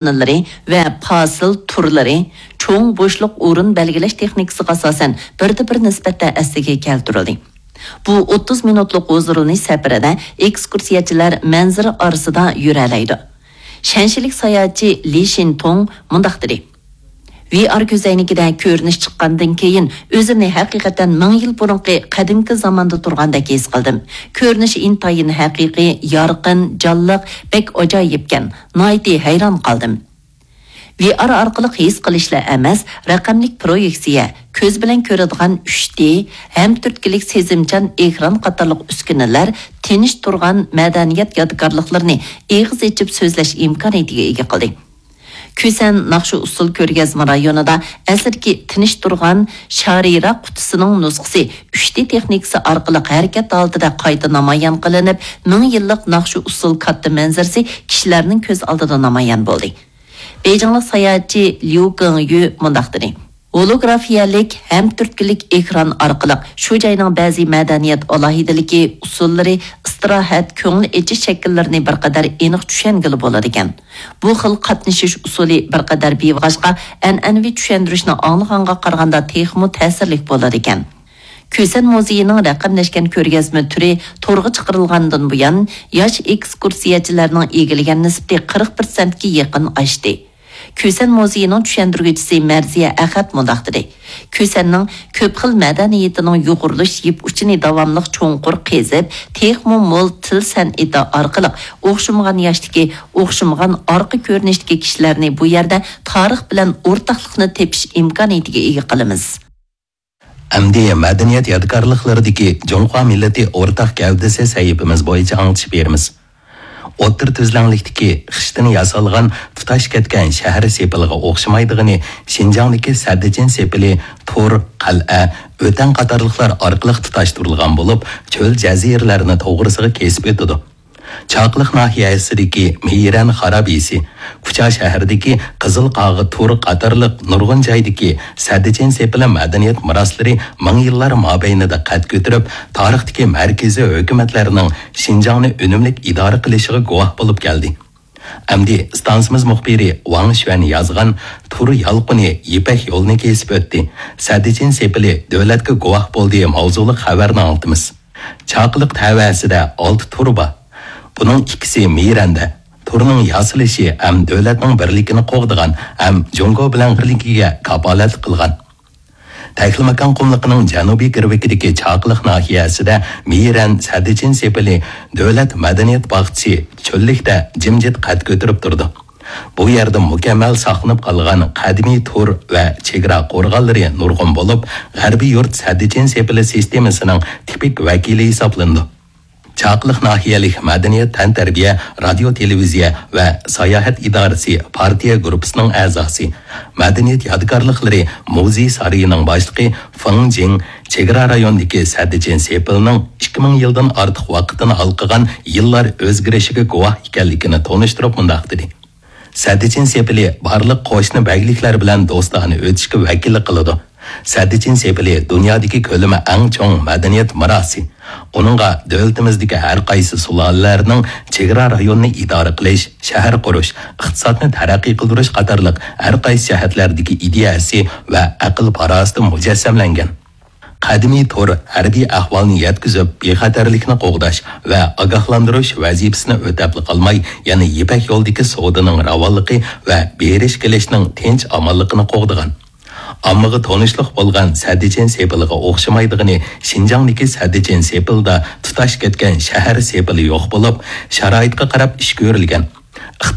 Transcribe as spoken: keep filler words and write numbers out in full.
ئورۇنلىرى ۋە پاسىل تۈرلىرى، چوڭ بوشلۇق ئورۇن بەلگىلەش تېخنىكىسىغا ئاساسەن بىردە بىر نىسبەتتە ئەسلىگە كەلتۈرۈلدى. بۇ ئوتتۇز مىنۇتلۇق ھۇزۇرلىنىش سەپىرىدە ئېكسكۇرسىيەچىلەر مەنزىرە ئارىسىدا يۈرەلەيدۇ. شەنشىلىك ساياھەتچى لى شىنتۇڭ مۇنداق دېدى: ۋي ئار كۆزەينىكىدە كۆرۈنۈش چىققاندىن كېيىن، ئۆزۈمنى ھەقىقەتەن مىڭ يىل بۇرۇنقى قەدىمكى زاماندا تۇرغاندەك ھېس قىلدىم. كۆرۈنۈش ئىنتايىن ھەقىقىي، يارقىن، جانلىق، بەك ئاجايىپكەن. ناھايىتى ھەيران قالدىم. ۋي ئار ئارقىلىق ھېس قىلىشلا ئەمەس، رەقەملىك پرويېكسىيە، كۆز بىلەن كۆرىدىغان ئۈچ دى، ھەم تۈرتكىلىك سېزىمچان ئېكران قاتارلىق ئۈسكۈنىلەر تىنچ تۇرغان مەدەنىيەت يادىكارلىقلىرىنى ئېغىز ئېچىپ سۆزلەش ئىمكانىيىتىگە ئىگە قىلدى. كۈسەن ناخشا ئۇسسۇل كۆرگەزمە رايونىدا ئەسلىدىكى تىنچ تۇرغان شارىرا قۇتىسىنىڭ نۇسخىسى ئۈچ دى تېخنىكىسى ئارقىلىق ھەرىكەت ھالىتىدە قايتا نامايان قىلىنىپ، مىڭ يىللىق ناخشا ئۇسسۇل كاتتا مەنزىرىسى كىشىلەرنىڭ كۆز ئالدىدا نامايان بولدى. بېيجىڭلىق ساياھەتچى ليۇ گېڭيۈ مۇنداق دېدى: ھولوگرافىيەلىك ھەم تۈرتكىلىك ئېكران ئارقىلىق شۇ جاينىڭ بەزى مەدەنىيەت ئالاھىدىلىكى، ئۇسسۇللىرى، ئىستىراھەت، كۆڭۈل ئېچىش شەكىللىرىنى بىر قەدەر ئېنىق چۈشەنگىلى بولىدىكەن. بۇ خىل قاتنىشىش ئۇسۇلى بىر قەدەر بىۋاجغا، ئەنئەنىۋى چۈشەندۈرۈشنى ئاڭلىغانغا قارىغاندا تېخىمۇ تەسىرلىك بولىدىكەن. كۈسەن مۇزېيىنىڭ رەقەملەشكەن كۆرگەزمە تۈرى تورغا چىقىرىلغاندىن بۇيان، ياش ئېكسكۇرسىيەچىلەرنىڭ ئىگىلىگەن نىسبىتى قىرىق پىرسەنتكە يېقىن ئاشتى. كۈسەن مۇزېيىنىڭ چۈشەندۈرگۈچىسى مەرزىيە ئەخەت مۇنداق دېدى: كۈسەننىڭ كۆپ خىل مەدەنىيىتىنىڭ يۇغۇرۇلۇش يىپ ئۇچىنى داۋاملىق چوڭقۇر قېزىپ، تېخىمۇ مول تىل سەنئىتى ئارقىلىق ئوخشىمىغان ياشتىكى، ئوخشىمىغان ئارقا كۆرۈنۈشتىكى كىشىلەرنى بۇ يەردە تارىخ بىلەن ئورتاقلىقنى تېپىش ئىمكانىيىتىگە ئىگە قىلىمىز. ئەمدى مەدەنىيەت يادىكارلىقلىرىدىكى جۇڭخۇا مىللىتى ئورتاق گەۋدىسى سەھىپىمىز بويىچە ئاڭلىتىش بېرىمىز. ئوتتۇرا تۈزلەڭلىكتىكى خىشتىن ياسالغان تۇتاش كەتكەن شەھەر سېپىلىغا ئوخشىمايدىغىنى شىنجاڭدىكى سەددىچىن سېپىلى تور، قەلئە، ئۆتەڭ قاتارلىقلار ئارقىلىق تۇتاشتۇرۇلغان بولۇپ، چۆل جەزىرىلەرنى توغرىسىغا كېسىپ ئۆتىدۇ. چاقىلىق ناھىيەسىدىكى مېيرەن خارابىسى، كۇچا شەھىرىدىكى قىزىل قاغا تور قاتارلىق نۇرغۇن جايدىكى سەددىچىن سېپىلى مەدەنىيەت مىراسلىرى مىڭ يىللار مابەينىدە قەد كۆتۈرۈپ، تارىختىكى مەركىزىي ھۆكۈمەتلەرنىڭ شىنجاڭنى ئۈنۈملۈك ئىدارە قىلىشىغا گۇۋاھ بولۇپ كەلدى. ئەمدى ئىستانسىمىز مۇخبىرى ۋاڭ شۈەن يازغان تور يالقۇنى يىپەك يولىنى كېسىپ ئۆتتى، سەددىچىن سېپىلى دۆلەتكە گۇۋاھ بولدى ماۋزۇلۇق خەۋەرنى ئاڭلىتىمىز. چاقىلىق تەۋەسىدە ئالتە تور بار. بۇنىڭ ئىككىسى مىرەندە. تورنىڭ ياسىلىشى ھەم دۆلەتنىڭ بىرلىكىنى قوغدىغان ھەم جۇڭگو بىلەن بىرلىكىگە كاپالەتلىك قىلغان. تەكلىماكان قۇملۇقىنىڭ جەنۇبىي گىرۋىكىدىكى چاقىلىق ناھىيەسىدە مىرەن سەددىچىن سېپىلى دۆلەت مەدەنىيەت باغچىسى چۆللۈكتە جىمجىت قەد كۆتۈرۈپ تۇرىدۇ. بۇ يەردە مۇكەممەل ساقلىنىپ قالغان قەدىمىي تور ۋە چېگرا قورغانلىرى نۇرغۇن بولۇپ، غەربىي يۇرت سەددىچىن سېپىلى سىستېمىسىنىڭ تىپىك ۋەكىلى ھېسابلىنىدۇ. چاقىلىق ناھىيەلىك مەدەنىيەت، تەنتەربىيە، رادىيو، تېلېۋىزىيە ۋە ساياھەت ئىدارىسى پارتىيە گۇرۇپپىسىنىڭ ئەزاسى، مەدەنىيەت يادىكارلىقلىرى مۇزېي سارىيىنىڭ باشلىقى فېڭ جىڭ چېگرا رايونىدىكى سەددىچىن سېپىلنىڭ ئىككى مىڭ يىلدىن ئارتۇق ۋاقىتنى ھالقىغان يىللار ئۆزگىرىشىگە گۇۋاھ ئىكەنلىكىنى تونۇشتۇرۇپ مۇنداق دېدى: سەددىچىن سېپىلى بارلىق قوشنا بەگلىكلەر بىلەن دوستانە ئۆتۈشكە ۋەكىللىك قىلىدۇ. سەددىچىن سېپىلى دۇنيادىكى كۆلىمى ئەڭ چوڭ مەدەنىيەت مىراسى. ئۇنىڭغا دۆلىتىمىزدىكى ھەر قايسى سۇلالىلەرنىڭ چېگرا رايونىنى ئىدارە قىلىش، شەھەر قۇرۇش، ئىقتىسادنى تەرەققىي قىلدۇرۇش قاتارلىق ھەر قايسى جەھەتلەردىكى ئىدىيەسى ۋە ئەقىل-پاراسىتى مۇجەسسەملەنگەن. قەدىمىي تور ھەربىي ئەھۋالنى يەتكۈزۈپ، بىخەتەرلىكنى قوغداش ۋە ئاگاھلاندۇرۇش ۋەزىپىسىنى ئۆتەپلا قالماي، يەنە يىپەك يولىدىكى سودىنىڭ راۋانلىقى ۋە بېرىش-كېلىشنىڭ تىنچ-ئامانلىقىنى قوغدىغان. ئاممىغا تونۇشلۇق بولغان سەددىچىن سېپىلىغا ئوخشىمايدىغىنى شىنجاڭدىكى سەددىچىن سېپىلدا تۇتاش كەتكەن شەھەر سېپىلى يوق بولۇپ، شارائىتقا قاراپ ئىش كۆرۈلگەن.